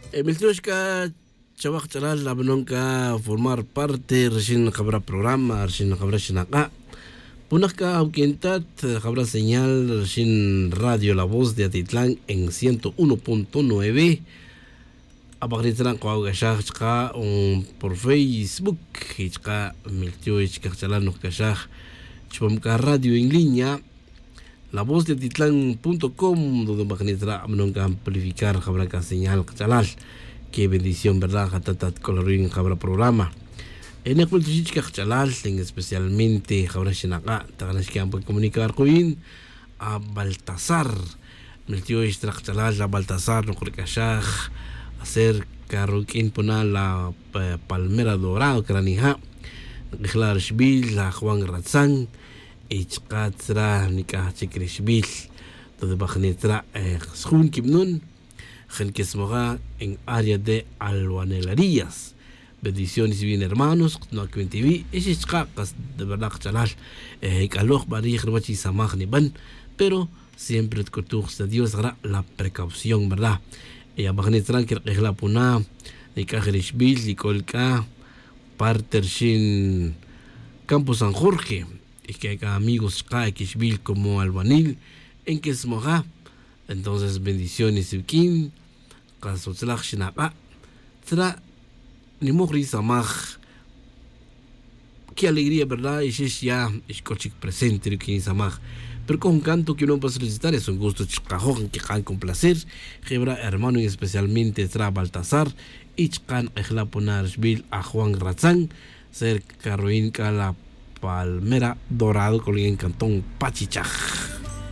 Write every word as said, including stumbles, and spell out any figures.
Miltiox c'a chawaj ch'alal la banon c'a formar parte rixin jabra programa rixin jabra xinak'a'. Punak c'a awuq'uin tat jabra señal rixin radio la voz de atitlan en ciento uno punto nueve. Abajni tzra' nk'o awuq'uexaj chka' por facebook y chka' miltioy chka' jch'alal noj k'axaj chupam c'a radio en línea. La voz de atitlan punto com donde bajni tzra' banon c'a amplificar jabra c'a señal kach'alal. Qué bendición verdad jata' tat c'olaruin jabra programa. Enek miltioy chka' jch'alal en especialmente jabra xinak'a' tajna xqui'an pa comunicar ku'in a baltasar. Miltioy tzra' kach'alal la baltasar noj rk'axaj acerca ruq'uin puna la palmera dorado cranija'. Nk'ejla' rixbil la juan ratzan y chka' tzra' nic'aj chic rixbil. Donde bajni tzra' sjun quibanon jin quismoja en área de albanelerías. Bendiciones bien hermanos kno' cuenta iwi' y xix chka' kas de verdad kach'alal. Ec'aloj b'arij ruwach isamaj niban pero siempre tk'utuj sta dios jara' la precaución verdad. Y abajni tzra' nquirk'ej la puna nic'aj rixbil y c'ol c'a parte rixin campo san jorge. Y que c'a amigos chka' quixbil como albanil enquismoja. Entonces bendiciones iwq'uin. Kas utzlaj xinak'a' tzra' nimoj ri samaj. Qué alegría verdad y xix ya xc'o chic presente ri quin samaj. Pero c'o jun canto que no pas recitar es un gusto chkajoj nquik'an con placer. Je' verdad hermano y especialmente tzra' baltasar y chka' nk'ejla' puna rixbil a juan ratzan cerca ruin c'a la palmera dorado c'o ruin cantón pachichaj.